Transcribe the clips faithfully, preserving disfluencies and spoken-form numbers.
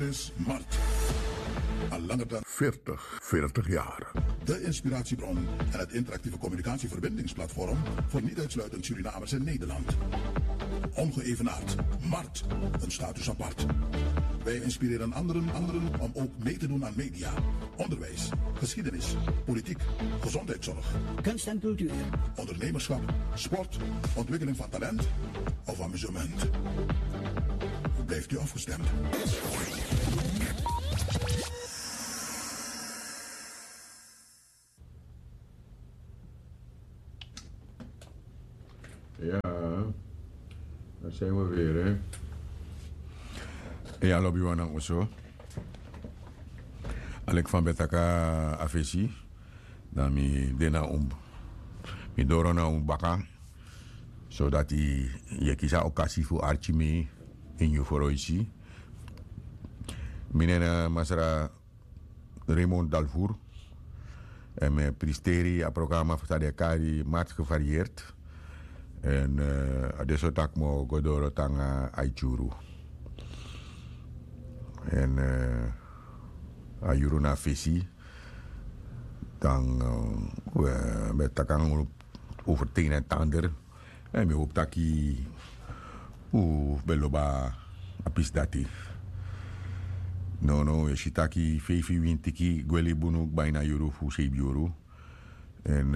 Is Mart. Al langer dan veertig, veertig jaar. De inspiratiebron en het interactieve communicatieverbindingsplatform voor niet uitsluitend Surinamers in Nederland. Ongeëvenaard. Mart. Een status apart. Wij inspireren anderen, anderen om ook mee te doen aan media, onderwijs, geschiedenis, politiek, gezondheidszorg, kunst en cultuur, ondernemerschap, sport, ontwikkeling van talent of amusement. Blijft u afgestemd? Ya, a seni we vere. Ya, lobi wan nanga oso. Aleki fa mi ben taki a fesi, dan mi de na un, mi doro na un baka, sodati yu e kisi a okasi fu arki mi ini yu froisi. Mi nen na Masra Raymond Dalvour. En mi e pristeri a programa fu san den e kari Mart Gevarieerd. En a de so tak' mi o go doro te nanga a yuru. En a yuru na a fesi. Dan we ben taki nanga unu over het een en het ander. En mi hopu taki un ben lobi a pisi dati. Nono, yu e si taki feifi wintiki gwe libi unu kba ini a yuru fu seibin yuru. En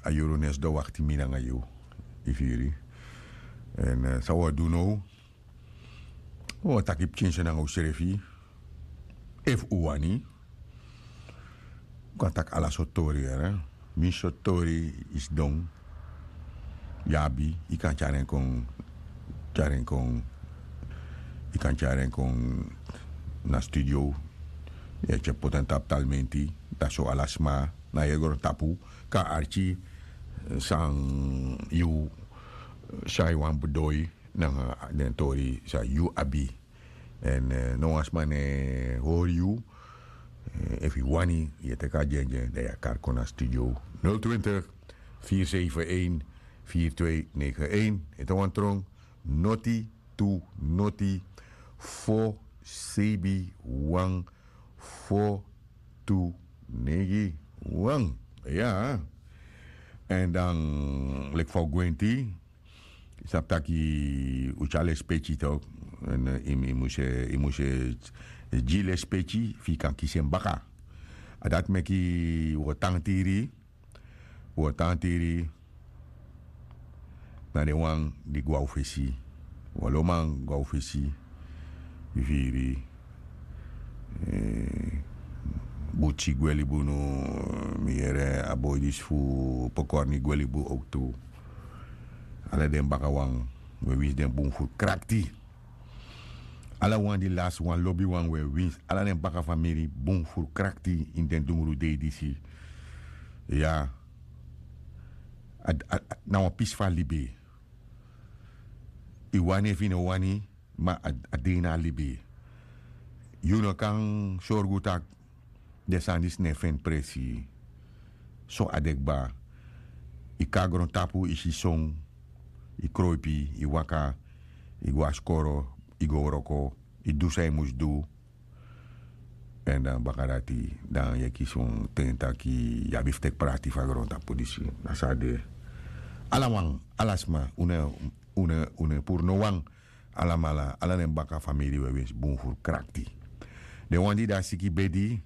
a yuru no e sidon wakti mi nanga yu, yu firi. En san un o du now? Un o taki pikinso nanga unsrefi. Efu un wani, un kan taki ala sortu tori, yere. Winsi sortu tori yu sidon, yu abi, yu kan tyari en kon, tyari en kon, yu kan tyari en kon na studio. Yu e tyari poti en tapu talmenti, dan so ala sma na yu grontapu kan arki san yu, san yu wani bedoi nanga den tori san yu abi. En no wan sma no e hori yu. Efu yu wani, yu e teki a dyendyen, dan yu e kari kon na studio. Nul twintig, vier zeven een, vier twee negen een. Ete wan tron, noti tu noti, fo seibin wan, fo tu negen wan. Ya. En dan leki fa un gwenti, yu sabi taki un tyari lespeki tok. En yu mus e, yu mus e gi lespeki fu yu kan kisi en baka. A dati meki un o tantiri, un o tantiri na den wan di go na un fesi. Un o lobi man go na un fesi. Yu firi. Butsi gwe libi unu. Mi yere a boi disi fu Pokorni gwe libi unu owktu. Ala den bakawan, un e winsi den bun furu krakti. Ala wan di lasi wan lobiwan, un e winsi ala den baka famiri bun furu krakti ini den dungru dei disi. Ya. Na wan pisi fu a libi. Yu wani efu yu no wani, ma a de ini a libi. Yu no kan sorgu tak' den sani disi no e feni presi. So a de kba. Yu kon na grontapu, yu si son, yu kroipi, yu waka, yu go na skoro, yu go wroko, yu du san yu mus du. Èn dan baka dati, dan yu e kisi wan ten taki yu abi fu teki prati fu a grontapu disi. Na so a de. Ala wan, ala sma, un no e, un no e, un no e puru no wan. Alamala, ala den baka famiri, un e winsi bun furu krakti. Den wan di de na siki bedi,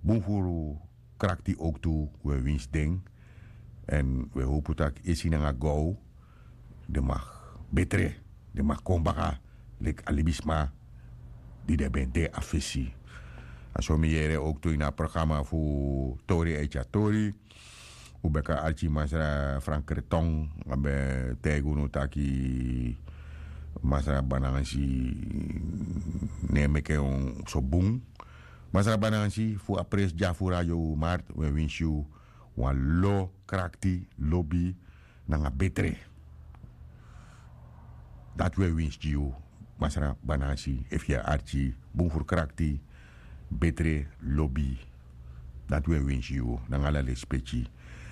bun furu krakti owktu, un e winsi den. Èn un e howpu tak' esi nanga gow den mag betre, den mag kon baka leki a libisma di den ben de na fesi. A so mi yere owktu ini a programa fu Tori Eti a Tori. Un ben kan arki Masra Frank Kreton, a ben taigi unu taki Masra Banansi no e meki en so bun. Masra Banansi, fu a presi dya fu Radio Mart, un e winsi yu wan lo krakti, lobi nanga betre. Dati un e winsi gi yu, Masra Banansi, efu yu e arki, bun furu krakti, betre, lobi. Dati un e winsi yu, nanga ala lespeki.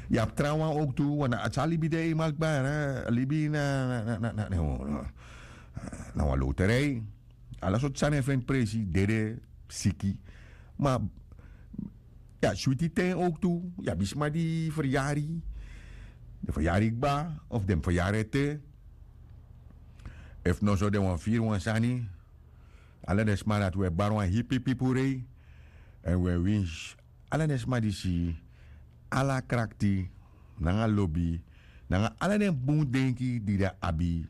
Yu abi trawan owktu, want a sa libi de eenmaal kba, hè. Libi na, na, na, na, na, na, na wan loterij. Ala sortu sani e feni presi, dede, siki. Ma yu abi switi ten owktu. Yu abi sma di feryari, den feryari kba, of den feryari ete. Efu noso den wani firi wan sani. Ala den sma dati wi e bari wan hipipipu rei. Èn wi e winsi ala den sma disi ala krakti nanga lobi nanga ala den bun denki di den abi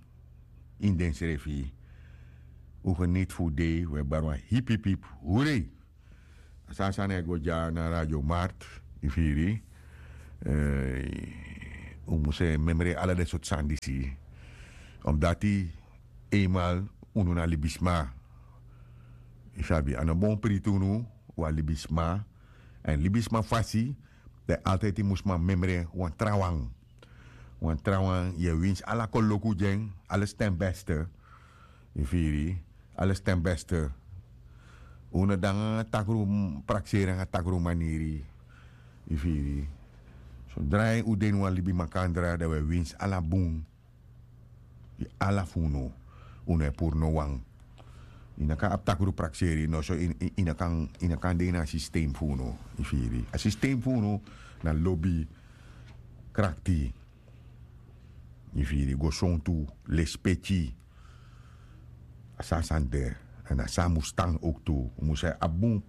ini densrefi. Un geniti fu dei, un e bari wan hipipip, hurei. A san a sani e go dya na radio mart, yu firi. Un mus e memre ala den sortu sani disi. Omdati einmal unu na libisma. Yu sabi a no bon priti unu. Wan libisma. Èn libisma fasi, dan yu altidi mus man memre wan trawan. Wan trawan yu e winsi ala koloku gi en. Ala sten beste. Yu firi? Ala sten beste. Un no de nanga takru prakseri nanga takru maniri. Yu firi? Sodra un de ini wan libi makandra dan un e winsi ala bun. Ala fu unu. Unu e puru no wan. Yu no kan abi takru prakseri noso. Yu no kan de ini a sistem fu unu. Yu firi? A sistem fu unu na lobi, krakti. Yu firi? Go sontu, lespeki. A san a sani de. Èn a san a mus tan owktu. Un mus e abi bun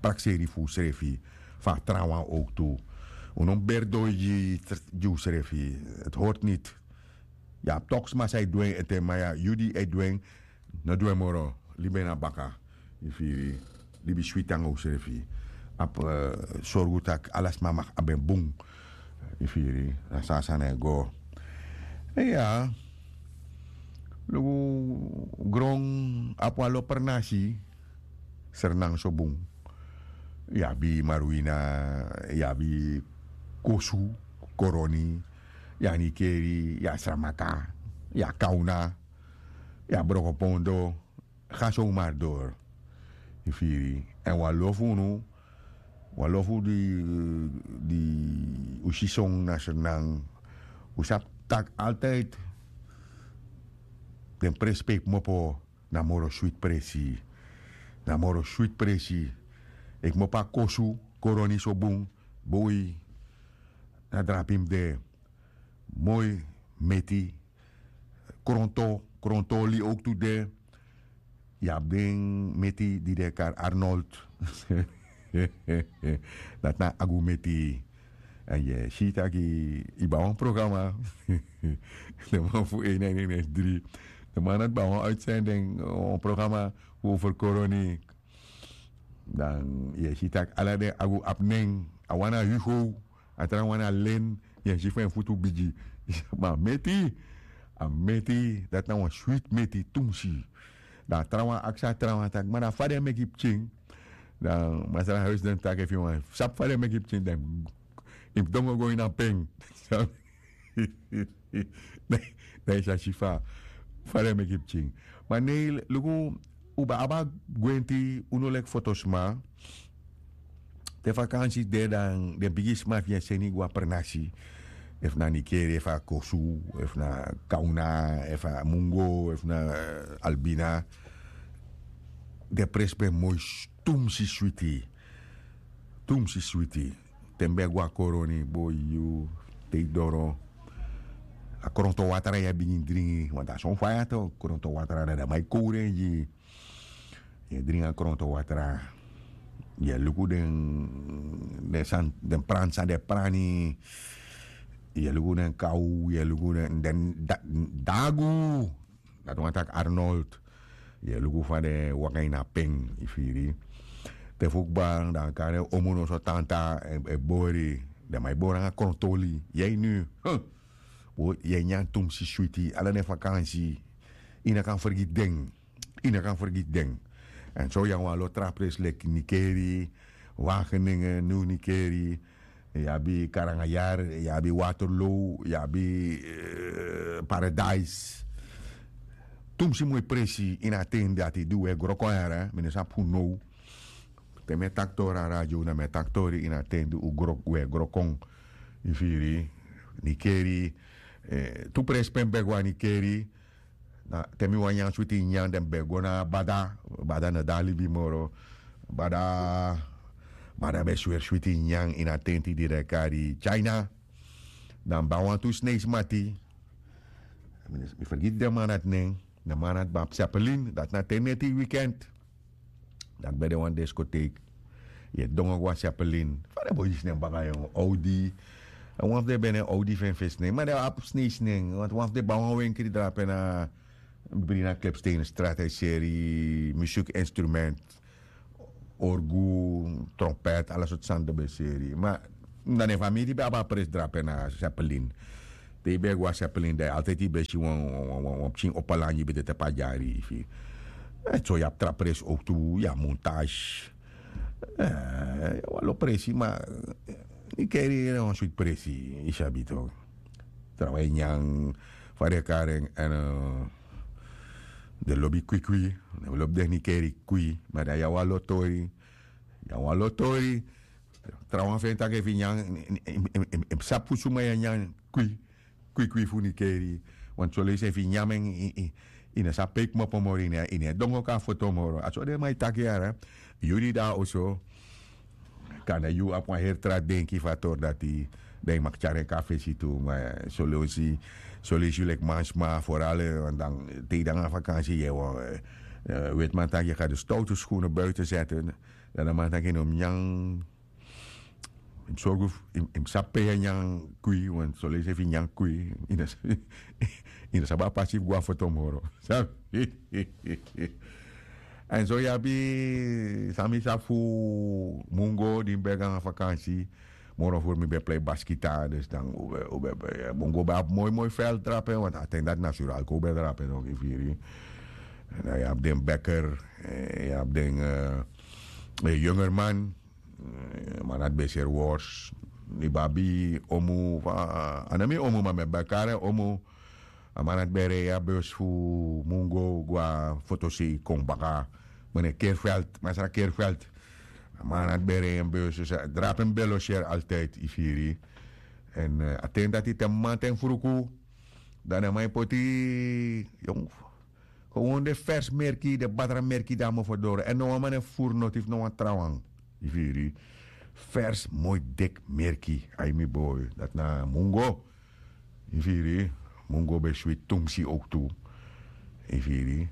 prakseri fu unsrefi. Fu a trawan owktu. Un no mus beri doi gi gi unsrefi. Hori niti. Yu abi toki sma san e du en ete ma yu di e du en, no du en moro. Libi en na baka. Yu firi? Libi switi nanga unsrefi. Abi sorgu tak' ala sma mag abi en bun. Yu firi? Na so a sani e go. Iya. Luku, gron abi wan lopernasi. Sernang so bun. Yu abi marwina, yu abi kosu, koroni, yu abi nikeri, yu abi sramaka, yu abi kawna, yu abi brokopondo. Ga so un mardor. Yu firi? Èn wan lo fu unu, wan lo fu di di un si son na sernang, un sabi tak' altidi den presi pe yu kmopo na moro switi presi. Na moro switi presi. Yu kmopo a kosu, koroni so bun. Boi, na drapi mus de. Moi, meti, kronto, kronto oli owktu de. Yu abi den meti di den e kari arnold. Dati na agu meti. Èn yu e si tak' yu bai wan programa. Den man fu en na en en en dri. Den man dati bai wan uitsending, wan programa fu over koroni. Dan yu e si tak' ala den agu abi nen. A wan na hugo, a trawan na len. Yu e si fu en futu bigi. Ma a meti, a meti dati na wan switi meti tumsi. Dan a trawan aksi a trawan taki ma dan fa den e meki pikin? Dan masra huis den taki efu yu wani sabi fa den e meki pikin dan yu mus dongo go ini a pen. Dan yu sa si fa fa den e meki pikin. Ma nei luku, un ben abi a gwenti un no leki fotosma. Te fakansi de dan den bigisma fu yu e seni go a pernasi. Efu na nikeri efu na kosu, efu na kawna, efu na mungo, efu na albina. Den presi ben moi. Tumsi switi. Tumsi switi. Te mi ben go a koroni boi yu te yu doro, a kronto watra yu e bigin dringi wantu a son faya to kronto watra dan den man e kowru en gi yu. Yu e dringi a kronto watra. Yu e luku den den sani den prani san den e prani. Yu e luku den kaw yu e luku den dagu. Dati wani taki arnold. Yu e luku fa den e waka ini a pen yu firi. Te fu kba dan a kari en omu noso tanta e bori. Den man e bori nanga kronto oli yu e ini yu e nyan tumsi switi ala den fakansi. Yu no kan fergiti den. Yu no kan fergiti den. Èn so yu abi wan lo tra presi leki nikeri, wageningen niw nikeri, yu abi karangayar, yu abi waterlow, yu abi paradise. Tumsi moi presi ini a ten dati di un e gro kon yara mi no sabi fu now. Te mi e taki tori a radio na mi e taki tori ini a ten di un e gro kon. Yu firi? Nikeri. Tu presi pe mi ben go a nikeri. Na te mi wani nyan switi nyan den ben go na bada. Bada no de na libi moro. Bada bada ben sweri switi nyan ini a tenti di den e kari china. Dan mi ben abi wantu sneisi mati. Mi fergiti den man dati nen. Den man dati ben abi sepelin dati na ten neti wikend. Dati ben de wan diskoteik. Yu e dongo go na sepelin fa den boi disi nen baka yon audi. Wan fu den ben ne audi fu en fesi nen ma den abi sneisi nen want wan fu den ben abi wan wenkri drape na bri na klepstein strati a e seri musuku instrument, orgu, trompet ala sortu sani den ben seri ma na den famiri ben abi a presi drape na sepelin. Te yu ben e go na sepelin dan yu altidi yu ben si wan pikin opo langi ben de tapu a dyari yu firi. So yu abi tra presi owktu yu abi montage. Yu abi wan lo presi ma yu keri yu na wan switi presi yu sabi tok. Trawan e nyan fa den e kari en èn den lobi kwikwi. Den lobi den nikeri kwikwi ma dan yu abi wan lo tori. Yu abi wan lo tori. Trawan fu en taki efu yu nyan yu mus sabi fu suma yu e nyan kwikwi fu nikeri. Want soleisi efu yu nyan en yu no sabi pe yu kmopo moro yu no e dongo kon na foto moro a so den man e taki yara. Yu di de na oso kande yu abi wan heri tra denki fu a tori dati. Dan yu mag tyari en kon na fesi tu ma soleisi soleisi yu leki mansma foral dan te yu de nanga vakansi yu e wetiman taki yu ga de stowtu skunu buiten seti. Dan den man taki yu no mus nyan. Yu mus sorgu yu mus sabi pe yu e nyan kwi want soleisi efu yu nyan kwi yu no sabi a pasi fu go na foto moro. Sabi? Èn so yu abi san mi sabi fu mungo di mi ben e go nanga vakansi. Moro furu mi ben e plei baskita dus dan un ben un ben e plei mungo ben abi moi moi fel drape want a ten dati na suralko un ben e drape no yu firi. Dan yu abi den beker yu abi den yungerman. Man dati ben e seri wors. Yu ben abi omu a no mi omu ma mi e ben kari en omu. A man dati ben e rei a bus fu mungo go na fotosei kon baka. Mene kerfelt masra kerfelt. A man dati ben e rei en bus drape mi ben e loseri altidi yu firi. Èn a ten dati te mi man ten fruku dan den man e poti yong. Gewon den fers merki den batra merki di a mofo doro èn no wan man e furu noti fu no wan trawan. Yu firi. Fers moi deki merki ai mi boi dati na mungo. Yu firi. Mungo ben switi tumsi owktu. Yu firi.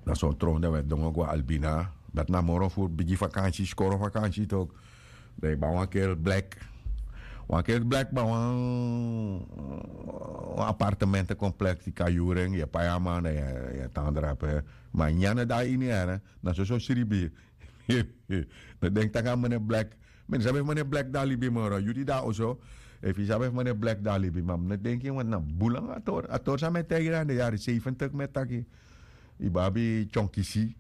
Na son tron dan wi e dongo go na albina. Dati na moro furu bigi vakansi skoro vakansi tok. Dan yu ban wan kel blek. Wan kel blek ban wan apartemente kompleks di kan yuru en yu e pai a man dan yu e tan drape. Ma nyan no de na ini yere. Na soso sribi. No denki tak' a mene blek. Mi no sabi efu mene blek de na libi moro yu di de na oso. Efu yu sabi efu mene blek de na libi ma mi no denki want na bun langa a tori a tori san mi e taigi yu na den yari seiventik mi e taki. Yu ben abi tyonkisi.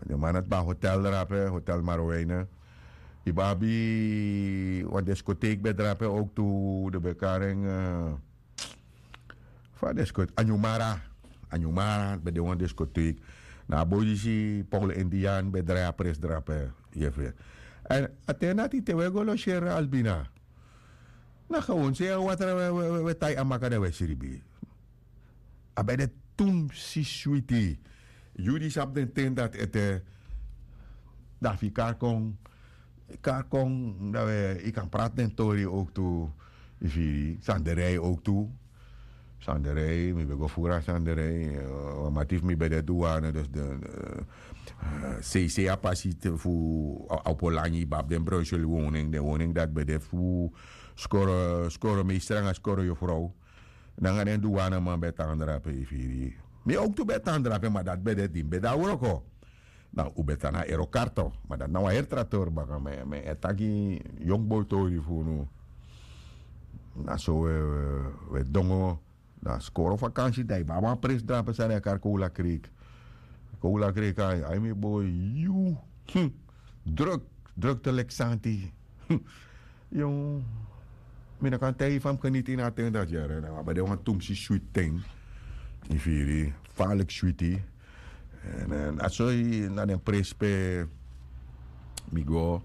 Den man dati ben na hotel drape hotel marweine. Yu ben abi wan diskoteik ben drape owktu den ben kari en. Fa a diskoteik anyumara. Anyumara ben de wan diskoteik. Na a boi disi paul indian ben drai a pres drape. Yu e firi. Èn a ten dati te wi e go loseri na albina. Na gewon sei a watra wi e tai a maka dan wi e sribi. A ben de tumsi switi. Yu di sabi den ten dati ete. Dan fu yu kari kon kari kon dan wi kan prati den tori owktu. Yu firi sanderei owktu. Sanderei mi ben go furu na sanderei. Wan mati fu mi ben de duwane dus den seisei a pasi fu a opo langi yu ben abi den bruisel woning den woning dati ben de fu skoro skoro mi e stranga skoro yufrow. Nanga den duwaneman ben e tan drape yu firi. Mi owktu ben e tan drape ma dati ben de di mi ben de na wroko. Dan un ben tan na erokarto ma dati na wan heri tra tori baka mi e taki yongu boi tori fu unu. Na so un e dongo. Na skoro vakansi dan yu ben abi wan presi drape san den e kari kowla kreek. Kowla kreek ai mi boi yu. Druk drukte leki santi. Yu mi no kan taigi yu fa mi geniti ini a ten dati yere dan wi abi de wan tumsi switi ten. Yu firi. Faliki switi. Èn a soi na den presi pe mi go.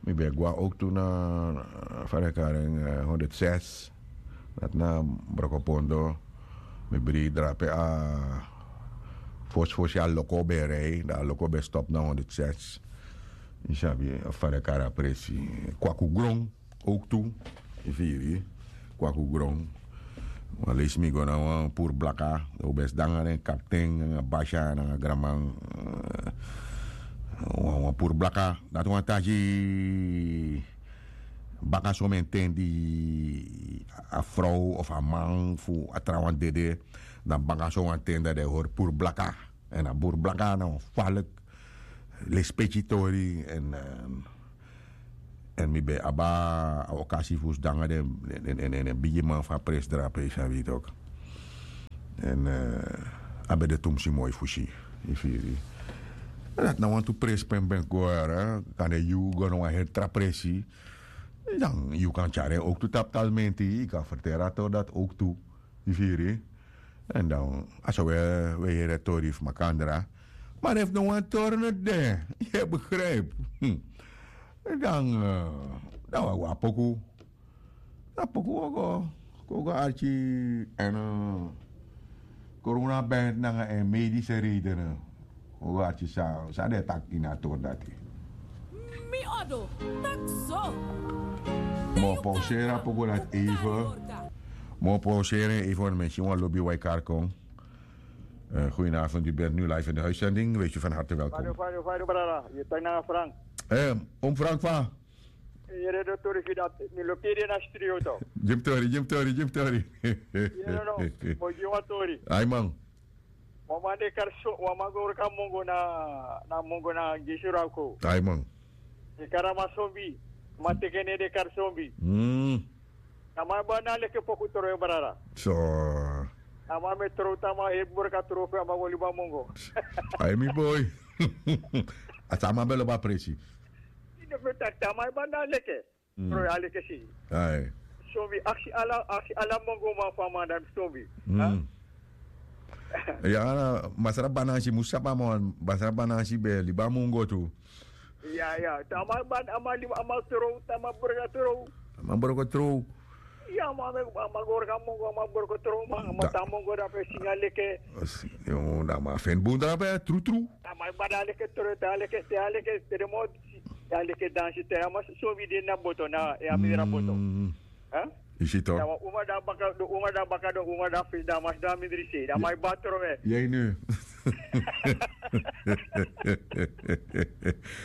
Mi ben e go na owktu na fa den e kari en honderd zes. Dati na brokopondo. Mi bri drape a fosi fosi a loko ben rei dan a loko ben stop na honderd zes. Yu sabi fa den kari a presi. Kwaku gron. Ook tu. Yu firi kwaku gron. Wan leisi mi go na wan puru blaka. Dan un ben sidon nanga den kapten nanga basya nanga granman. Wan puru blaka dati wan tasi. Baka somen ten di a frow of a man fu a trawan dede. Dan baka sowan ten dan den hori puru blaka. Èn a puru blaka na wan falek lespeki tori. Èn mi ben abi a okasi fu sidon nanga den bigiman fu a presi drape yu sabi yu toki. Èn a ben de tumsi moi fu si. Yu firi dati na wantu presi pe mi ben go yara kan de yu go na wan heri tra presi. Dan yu kan tyari en owktu tapu talmenti yu kan ferteri a tori dati owktu. Yu firi. Èn dan a so wi e heri a tori fu makandra. Ma efu no wan tori no de yu e begripi. Dan dan wi a go a poku. Na poku wi o go kon go arki. Èn korona bent nanga en medise redene. Wi o go arki san san den e taki ini a tori dati. Mi odo taki so. Mi o pauseri a poku dati eive. Mi o pauseri en eive wan mi e si wan lobi wai kari kon. Goedenavond u bent nu live in de uitzending wees u van harte welkom. Fado fado brada, yu taki nanga Frank. Om Frank fa. Yere den tori fu dati mi lobi yu de na studio to. Gi mi tori gi mi tori gi mi tori. Yere no, mi o gi yu wan tori. Ai man. Wan man de kari so wan man go wroko a mongo na na mongo na gisi wroko. Ai man. Den kari a man sombi. Man teke nen den kari sombi. A man e bari na leke poku trowe brada. So. A man mi e trow te a man heri wroko a trow fu en a man go libi a mongo. Ai mi boi. A san a man ben lobi a presi. Yu no fu taki te a man e bari na leke. Trowe a leke si. Ai. Sombi aksi ala aksi ala mongo man fu a man dan sombi. Ya. Masra banansi mus sabi a man masra banansi ben e libi a mongo tu. Ya ya te a man ban a man libi a man trow te a man broko trow. A man broko trow. Ya a man go wroko a mongo a man broko trow man a man tan mongo dan fu e singi a leke. Dan a man feni bun drape trutru. A man e bari a leke trow te a leke te a leke te den moro disi. Te a leke dansi te a man sombi de na boto na e a mindri a boto. Isi to. Dan wan uma dan baka den uma dan baka den uma dan fesi dan a man sidon a mindri sei dan a man e bari trowe. Yei nu.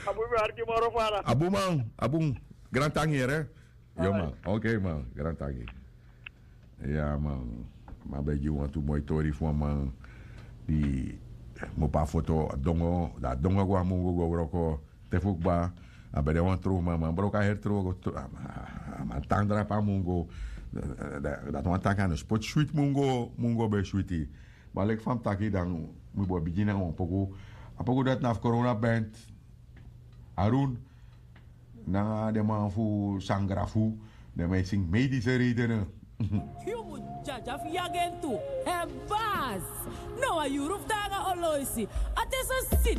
A bun mi arki moro fara. A bun man a bun. Grantangi yere. Yo man. Ok man grantangi. Ya man. Ma ben gi wantu moi tori fu wan man di mu opo a foto a dongo dan a dongo go a mungu go wroko. Te fu kba a ben de wan trow man man broko a heri trow go a man tan drape a mungu. Dati wan taki a no spoti switi mungu mungu ben switi. Ma leki fa mi taki dan mi bo bigin nanga wan poku. A poku dati na fu korona bent. Arun nanga den man fu sangra fu den man e singi medise redene. Yu mu dyadyaf yagen tu. Hebas. Na wan yuru fu taanga oloisi. A te so siti.